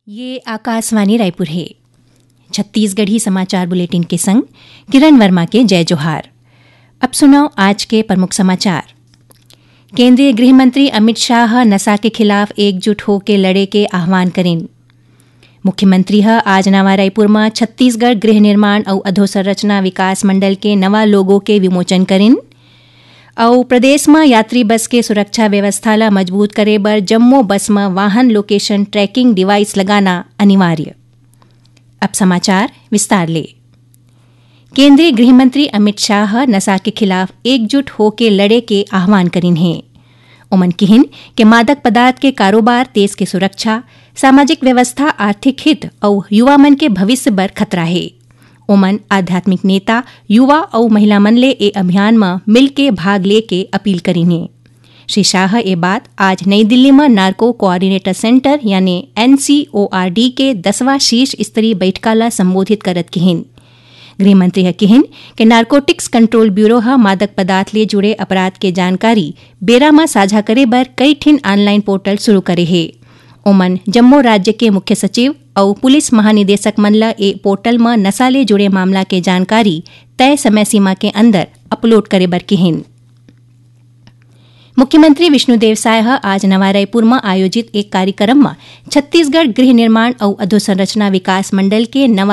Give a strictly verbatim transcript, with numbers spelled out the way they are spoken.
ये आकाशवाणी रायपुर हे। छत्तीसगढ़ी समाचार बुलेटिन के संग किरण वर्मा के जय जोहार। अब सुनव आज के प्रमुख समाचार। केंद्रीय गृह मंत्री अमित शाह ह नशा के खिलाफ एकजुट होके लड़े के आह्वान करिन। मुख्यमंत्री ह आज नवा रायपुर म छत्तीसगढ़ गृह निर्माण अउ अधोसंरचना विकास मंडल के नवा लोगो के विमोचन करिन। अउ प्रदेश म यात्री बस के सुरक्षा व्यवस्था ल मजबूत करे बर जम्मो बस म वाहन लोकेशन ट्रैकिंग डिवाइस लगाना अनिवार्य। अब समाचार विस्तार ले। केंद्रीय गृह मंत्री अमित शाह ह नशा के खिलाफ एकजुट होके लड़े के आह्वान करिन हे। ओमन किहिन के मादक पदार्थ के कारोबार देश के सुरक्षा, सामाजिक व्यवस्था, आर्थिक हित अउ युवा मन के भविष्य बर खतरा हे। ओमन आध्यात्मिक नेता, युवा अउ महिला मन ले ए अभियान म मिलके भाग लेके अपील करिन हे। श्री शाह ह ए बात आज नई दिल्ली म नार्को कोऑर्डिनेटर सेंटर यानी एनसीओआरडी के दसवां शीर्ष स्तरीय बैठका ल संबोधित करत किहिन। गृह मंत्री ह किहिन के नार्कोटिक्स कंट्रोल ब्यूरो ह मादक पदार्थ ले जुड़े अपराध के जानकारी बेरा म साझा करे बर कई ठिन ऑनलाइन पोर्टल शुरू करे हे। ओमन जम्मो राज्य के मुख्य सचिव अउ पुलिस महानिदेशक मन ल ए पोर्टल म नशा ले जुड़े मामला के जानकारी तय समय सीमा के अंदर अपलोड करे बर किहिन। मुख्यमंत्री विष्णुदेव साय ह आज नवा रायपुर म आयोजित एक कार्यक्रम म छत्तीसगढ़ गृह निर्माण अउ अधोसंरचना विकास मंडल के नवा